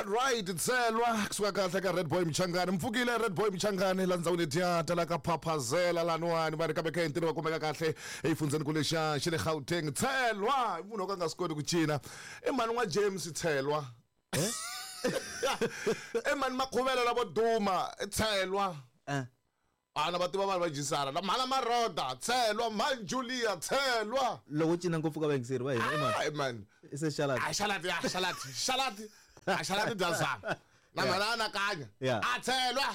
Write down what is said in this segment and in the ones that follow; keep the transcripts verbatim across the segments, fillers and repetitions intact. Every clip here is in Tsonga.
Alright tselwa kusuka kahle ka Red Boy Mchangani mpfukile Red Boy Mchangani la ndzawini tiya la ka phaphazela laniwani va ri kambe kha ntirho wa kumeka kahle eyifundzeni ku lexa xi le Gauteng tselwa munhu o ka nga swi koti ku cina i mhani n'wa James tselwa eh i mhani Makhuvela lavo duma tselwa eh ana va tiva vanhu va jisana na mhana Maroda tselwa mhani Julia tselwa loko cina ngopfu ka vayingiseri va hina i mani i mani i se xalati a xalati ya xalati xalati a xalati dyazana na mhana anakanya a tselwa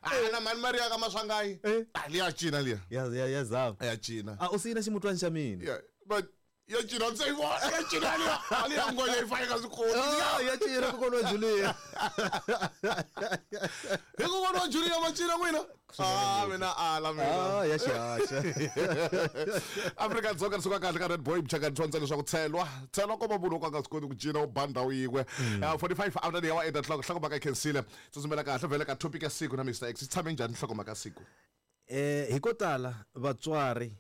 ana mhani Maria ka Maswangayi a liya cina liya ya ya ya zava ya cina a u siyina ximutwani xa mina but ya cina ndzi vona ya cina liya a liya ngonya yi faka swikoti ya cina kokwana wa Julia hi kokwana wa Julia ma cina n'wina ah mina ala mina ah ya xihaxa Afrika Dzonga suka kahle ka Red Boy Mchangani tsonza leswaku tselwa tselwa komba munhu ka nga swi koti ku cina u ba ndhawu yin'we forty-five after the hour eight o'clock nhlokomhaka yi khensile tsutsumela kahle vhele ka topic ya siku na Mister X tshame njhani nhlokomhaka siku eh hi ko tala vatswari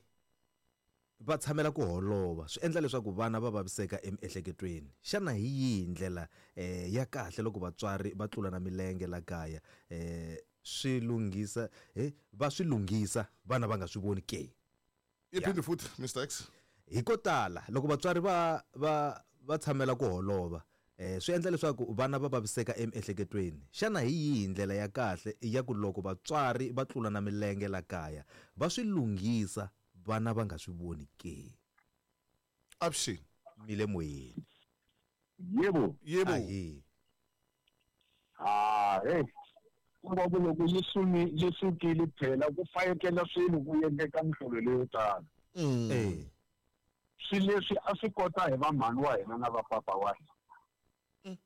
va tshamela ku holova swi endla leswaku vana va vaviseka emiehleketweni xana hi yihi ndlela eh ya kahle loko vatswari va tlula na milenge la kaya eh swi lunghisa eh va swi lunghisa vana va nga swi voni ke yi phindi futhi Mister X hi ko tala loko vatswari va va va tshamela ku holova eh swi endla leswaku vana va vaviseka emiehleketweni xana hi yihi ndlela ya kahle ya ku loko vatswari va tlula na milenge la kaya va swi lunghisa vana va nga swi voni ke Avuxeni mile moyeni yebo yebo ahi ah hey ku va loko yi sumi yi sukile phela ku fayekela swilo ku endleka mihlolo leyo tala eh swilo leswi a swi kota hi vamhani wa hina na vapapa wa hina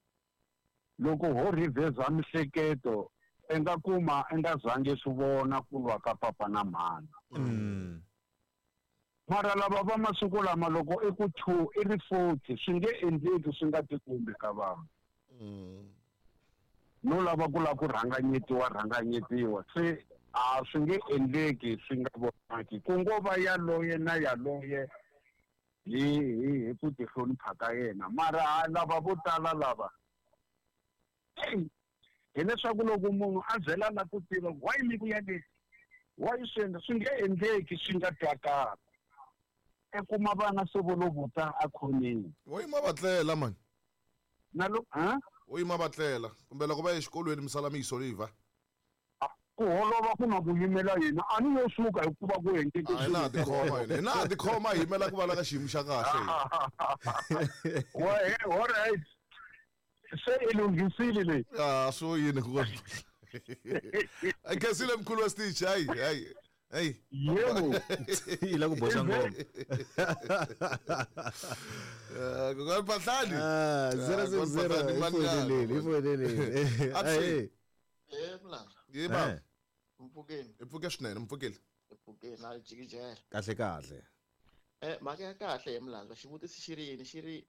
loko ho riveza mihleketo i nga kuma i nga zangi swi vona ku lwa ka papa na mhana mm mara lava va masiku lama loko i ku two i ri forty swi nge endleki swi nga tikumbi ka vanhu no lava ku lava ku rhanganyetiwa rhanganyetiwa se a swi nge endleki swi nga vonaki ku ngo va yaloye na yaloye hi hi hi ku tihlonipha ka yena mara lava vo tala lava hileswaku loko munhu a byela la ku tiva why mi ku ya leswi why swi endla swi nge endleki swi nga twakali i kuma vana se vo lo vuta a khoneni wo yima va tlela mani na lo ha wo yima va tlela kumbe loko va ya exikolweni mi sala mi yi soliva ku holova ku na ku yimela yena a ni yo suka hikuva ku endleke a hi na tikhoma hina hi na tikhoma hi yimela ku va la ka xiyimo xa kahle wa he all right se i lunghisile leyi ah swo yini ku a khensile mkhulu wa Stitch hayi hayi hayi yebo yi la ku boxa ngoma eh kokwana Phahlani ah zero six zero ifonelele ifonelele Avuxeni. Eh mlando Yebo Eh. mpfukeni hi pfuke swinene mpfukile mpfukeni na jikijela kahle kahle eh mhaka ya kahle hi mlando xivutiso xi ri yini xi ri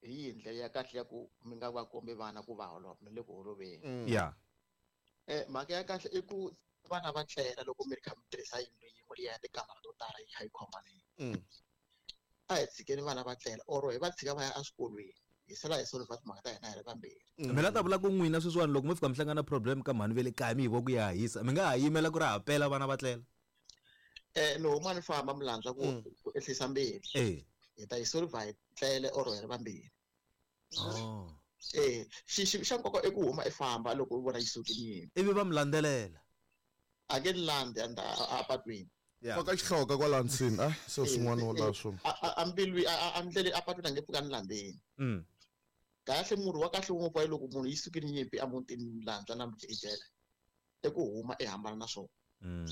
hi yihi ndlela ya kahle ya ku mi nga va kombi vana ku va holova mi le ku holoveni ya eh mhaka ya kahle i ku vana va tlela loko mi ri kha mi tirhisa yindlu yin'we liya ya tikamara to tala yi kha yi khoma leyi Mm. a hi tshikeni vana va tlela or hi va tshika va ya eswikolweni hi sala hi solva timhaka ta hina hi ri vambirhi mi la ta vula ku n'wina sweswiwani loko mi fika mi hlangana problem ka mhani ve le kaya mi hi vo ku ya hisa mi nga ha yimela ku ri ha pela vana va tlela eh ni huma ni famba mlandza ku ku ehlisa mbilu eh hi ta yi solva hi tlele or hi ri vambirhi oh eh xi xi xa nkoka i ku huma i famba loko u vona yi sukile yini ivi va mi landzelela a nge ni landzi a a patwini ya faka xihloka kwala nsini a se swin'wana wo la swo a a- a mbilu a a- a ndlele a patwini a nge pfuka ni landzeni mm kahle murhi wa kahle ngopfu loko munhu yi sukile nyimpi emutini mlandza na mjikijela i ku huma i hambana na swona mm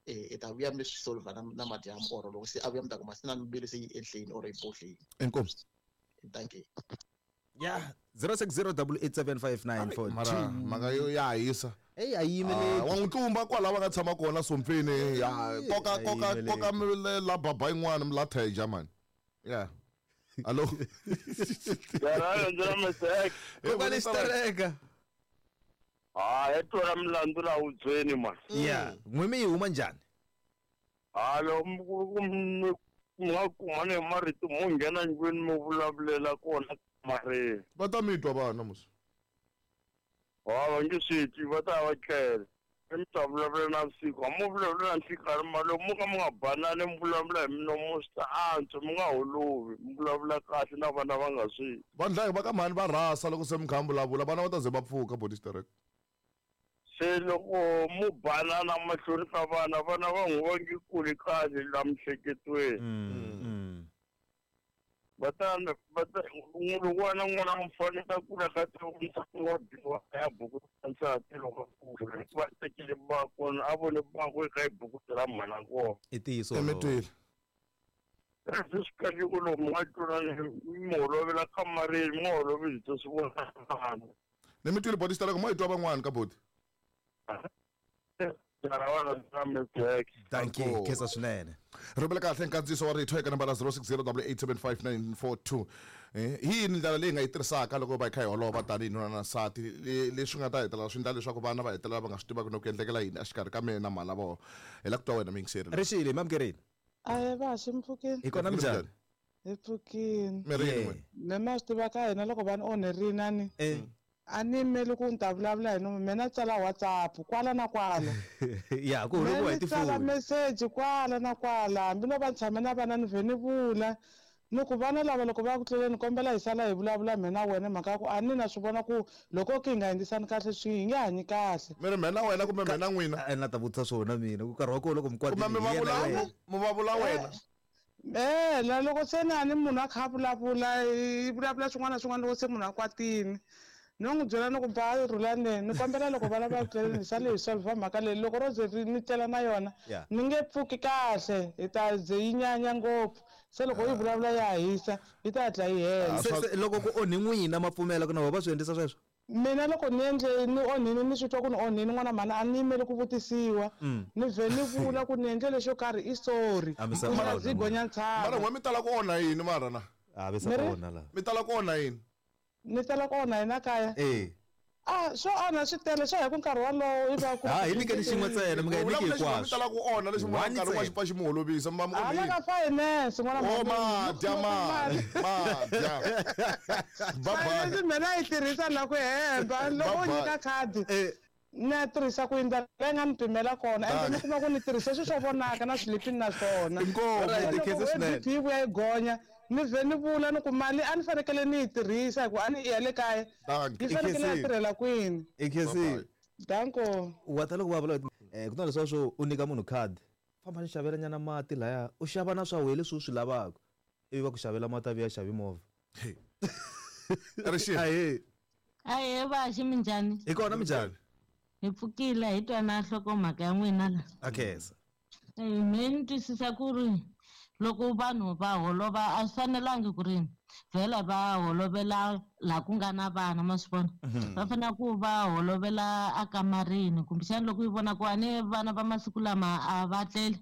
eh i ta vuya mi swi solva na na madyambu or loko se a vuya mi ta kuma se na mbilu se yi enhleni or yi bohleni inkomu thank you ya zero six zero double eight seven five nine four mara two mhaka yo ya hisa ey a Ah, yimeleki wa n'wi tlumba kwala va nga tshama kona sompfini ya koka a koka yimeleki. koka mi le- la baba yin'wana mi la theja mani ya hallo Yara Mister X. kokwani xitereka Ah, hi twela milandzu laha hubyeni man. ya n'wi mi yi huma njhani Halo mi mi nga kumani hi marito mo nghena ndlwini mi vulavulela kona kamareni. Va ta mi twa vana mos. Ha va nge swi twi va ta va tlela. Mi ta vulavula navusiku, a mo vulavula na nhlikani mara loko mo ka mi nga banani mi vulavula hi minomo swi ta antswa mi nga holovi mi vulavula kahle na vana va nga swi. Vandla va ka mhani va rhasa loko se mi kha mi vulavula vana va ta ze va pfuka body strike. Se loko mo banana mahlweni ka vana vana va n'wi va nge kuli kahle la miehleketweni. Va ta va ta n'wana n'wana mufana ta kula ka wa biwa ya buku nsati loko kula va tekile bakona a vone bako eka buku ra mhana kona. I ntiyiso. Emitwile. Leswi swi kahle ku loko mi nga tlulani mi holovela kamareni mi nga holovi hi to swi vona vana. Ni mi twile body strike mo hi twa van'wana ka body. Thank you, khensa swinene. Rhumela kahle nkandziyiso wa rito eka nambara zero six zero double eight seven five nine four two. Eh, hi yini ndlela leyi nga yi tirhisaka loko va hi kha hi holova tanihi nuna na nsati leswi nga ta hetelela swi endla leswaku vana va hetelela va nga swi tivaki no ku endlekela yini exikarhi ka mina na mhana vona. Hi lava ku twa wena muyingiseri. Rixile mi amukerile. Ahe va xi mpfukini. Hi kona minjhani? Hi pfukini. Mirini n'wina? Me ma swi tiva ka hina loko va ni onherini a ni. A ni yimeli ku ni ta vulavula hi nomu mina tsala WhatsApp kwala na kwala. Ya ku holoviwa hi tsala tifoni. message kwala na kwala hambi no va tshame na vana ni vhe ni vula ni ku vana lava loko va ya ku tleleni kombela hi sala hi vulavula mina wena mhaka ya ku a ni na swi vona ku loko ki hi nga endlisani kahle swi hi nge hanyi kahle. Mi ri mhena wena kumbe mhena n'wina? A ni ta vutisa swona mina ku nkarhi wa kona loko mi Kumbe mi kwatile hi yena va wena. mi va vula wena? Eh, la loko se na ni munhu a kha a vulavula i vulavula swin'wana na swin'wana loko se munhu a kwatile. Ni n'wi byela ni ku ba rhulani ni kombela loko vana va tleleni hi sale hi solve mhaka leyi loko ro ze ni tlela na yona ni nge pfuki kahle hi ta ze yi nyanya ngopfu se loko yi vulavula ya hisa yi ta hatla yi hela. Se loko ku onhi n'wina ma pfumela ku na vona va swi endlisa sweswo? Mina loko ni endle ni onhini ni swi twa ku ni onhini n'wana mhani a ni yimeli ku vutisiwa ni vhe ni vula ku ni endle lexo karhi i sorry ndzi gonya ntshava. Mara n'we mi tala ku onha yini mara na? A ve sa onha la. Mi tala ku onha yini? Ni tala ku onha hina kaya. Eh. Ah, swo onha swi tele swo ya ku nkarhi wolowo i va ku. Ha hi nyikeni xin'we ntsena mi nga hi nyiki hinkwaswo. Mi tala ku onha lexi munhu nkarhi wa xi pfa xi mu holovisa mi va mi onhile. Hala ka finance n'wana mhani. Oh madya mali madya. Finance mina yi tirhisa la ku hemba loko u nyika khadi. Na tirhisa ku endla leyi nga ni pimela kona ende ni kuma ku ni tirhise swilo swo vonaka na swilipini na swona. Inkomu. Yi vuya yi gonya ni vhe ni vula ni ku mali a ni fanekele ni yi tirhisa hikuva a ni ya le kaya yi fanekele ya tirhela kwini. Danko. Wa ta loko va vula eh ku na leswiya swo u nyika munhu khadi famba ni xavela nyana mati laya u xava na swa wena leswi u swi lavaka ivi va ku xavela mati a vuya xavi movha. Rixile. Ahee. Ahee va xi minjhani? Hi kona minjhani? Hi pfukile hi twa na nhlokomhaka ya n'wina la. Akhensa. Eh me ni twisisa ku ri loko vanhu va holova a swi fanelangi ku ri vhela va holovela laha ku nga na vana ma swi vona. Va fanele ku va holovela akamarini kumbexana loko yi vona ku a ni vana va masiku lama a va tleli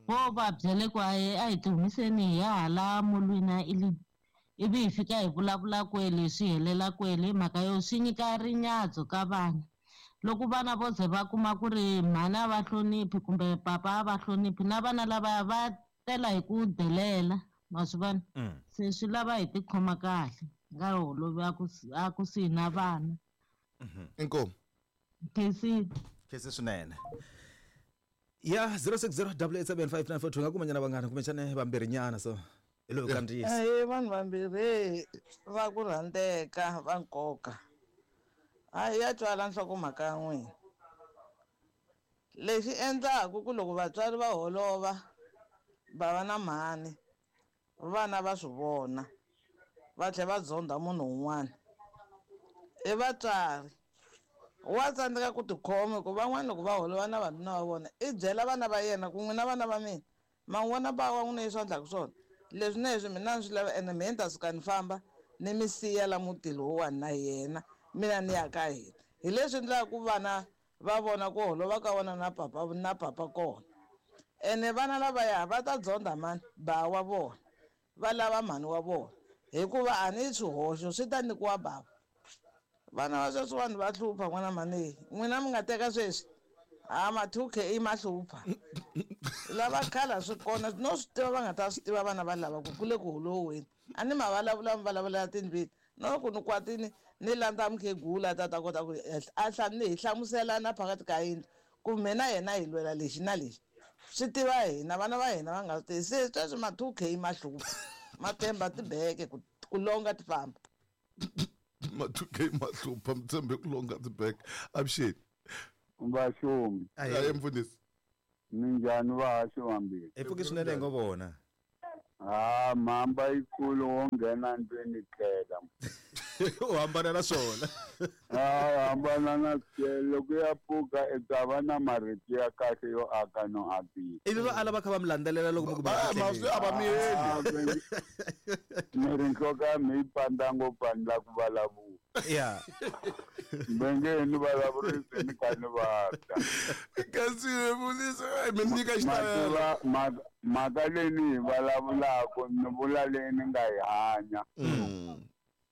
vo va byele ku a hi ti humiseni hi ya hala molweni a ilini ivi hi fika hi vulavula kwele swi helela kwele hi mhaka yo swi nyika rinyatso ka vana. Loko vana vo ze va kuma ku ri mhani a va hloniphi kumbe papa a va hloniphi na vana lava va tela hi ku delela ma swi vona. Se swi lava hi tikhoma kahle nga holovi a kusuhi na vana. Inkomu. Khensile. Khensi swinene. Ya zero six zero double eight seven five nine four two nga kuma nyana vanghana kumbexana vambirhi nyana so hi loyi kandziyisa. Ahee vanhu vambirhi va ku rhandzeka va nkoka. Hayi ya twala nhlokomhaka ya n'wina. Lexi endlaku ku loko vatswari va holova bava na mhani vana va swi vona va tlhela va dzonda munhu un'wana i vatswari wa tsandzeka ku tikhoma hikuva van'wana loko va holova na vanuna va vona i byela vana va yena ku n'wina vana va mina ma n'wi vona ba wa n'wina leswi a endlaka swona leswi na leswi mina ni swi lava ene mehe ni ta suka ni famba ni mi siya la mutini lowuwani na yena mina ni ya ka hina hi leswi endlaka ku vana va vona ku holova ka vona na papa na papa kona ene vana lavaya va ta dzonda mani ba wa vona va lava mhani wa vona hikuva a ni swihoxo swi ta nyikiwa bava. Vana va sweswi vanhu va hlupha n'wana mhani n'wina mi nga teka sweswi A ma two K ma hlupha. Lava khala swi kona no swi tiva va nga ta swi tiva vana va lava ku kule ku holoweni. A ni ma vulavula mi vulavula tindlwini. No ku ni kwatini ni landza mukhegula ta ta kota ku a hla ni hi hlamuselana phakathi ka yindlu ku mina yena hi lwela lexi na lexi. Swi tiva hina vana va hina va nga swi tivi. Se sweswi ma two K ma hlupha. Ma tshemba tibeke ku ku longa ti famba. Ma two K ma hlupha mi tshembe ku longa tibeke. Avuxeni. Vaxumi. Aye mfundhisi. Minjhani vahaxi vambirhi? Hi pfuke swinene hi ngo vona. Ha mhamba yikulu wo nghena ndlwini tlela. U hambana na swona. Ha hambana na loko ya pfuka i ta va na marito ya kahle yo aka no akisa. Ivi va ala va kha va mi landzelela loko mi ku va a va miyeli. Ni ri nhloko ya mi yi pandza ngopfu a ni la ku vulavula. Yeah. Benge ni vulavurisi ni kha ni vabya. Kasi mfundhisi mi nyika xitayela. Mhaka leyi ni yi vulavulaka ni vula leyi ni nga yi hanya.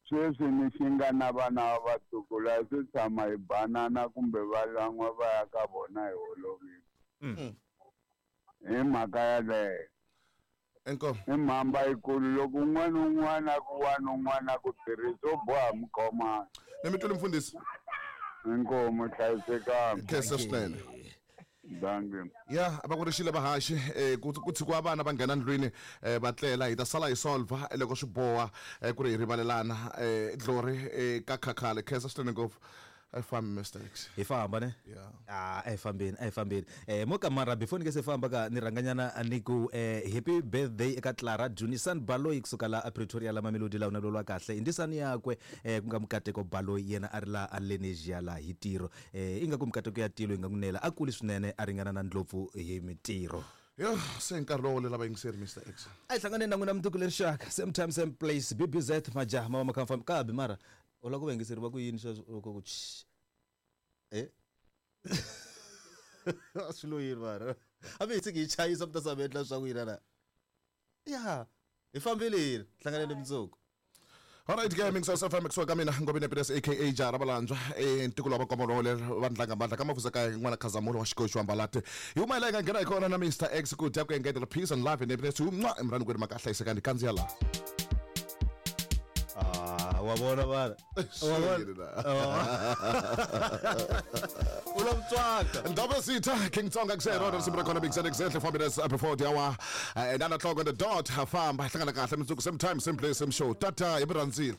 Sweswi ni xi nga na vana va vatukulu a swi tshama hi banana kumbe va lan'wa va ya ka vona hi holovile. Hi mhaka yaleyo. Inkomu. I mhamba yikulu loko un'wana un'wana ku wani un'wana ku tirhisa u boha mukhomana. Ni mi twile mfundhisi. Inkomu hlayisekanga. Khensa swinene. Dankie. Ya va ku rixile vahaxi eh ku ku tshikiwa vana va nghena ndlwini eh va tlela hi ta sala hi solva loko swi boha ku ri hi rivalelana eh dlori ka khakhale. Khensa swinene ngopfu. I farm mistakes. Hi famba ne? Yeah. Ah, a hi fambeni, a hi fambeni. Eh mo kamara before ni nge se famba ka ni rhanganyana ni ku eh happy birthday eka Clara Junisan Baloyi kusuka la Pretoria la Mamelodi la unalolwa kahle. Indisani yakwe eh ku nga Mukateko Baloyi yena a ri la a Lenesia la hi tiro. Eh inga ku Mukateko ya tilo inga kunela a kuli swinene a ringana na ndlopfu hi mitiro. Yo, se nkarhi lowo lela vayingiseri Mister X. A hi hlangane na n'wina mundzuku lerixaka. Same time same place. B B Z majaha ma ma kha kabi mara. U lava ku vayingiseri va ku yini sweswo loko ku eh swi lo yini mara a mi hi tshiki hi chayisa mi ta swa mi endla swa ku yina na ya hi fambile yini hlanganeni mundzuku. All right, gaming so F M kusuka ka mina Ngobeni Happiness aka Jara Valandzwa eh ntiko wa vakomolo va ndlanga mandla ka mafuza ka n'wana Khazamulo wa xikoxi wa Mbalati. Hi huma hi la hi nga nghena hi kona na Mister X ku dya ku engetela peace and love and happiness mwa emrani kweri maka hlayisekani kandziya la. Ah, wa vona vana. Wa vona. U lo mutswaka. Ndaba sitha King Tsonga kusero risimu ra kona Big Zed exactly four minutes before the hour and nine o'clock on the dot. Famba hlangana kahle mundzuku same time same place same show. Tata hi mi rhandzile.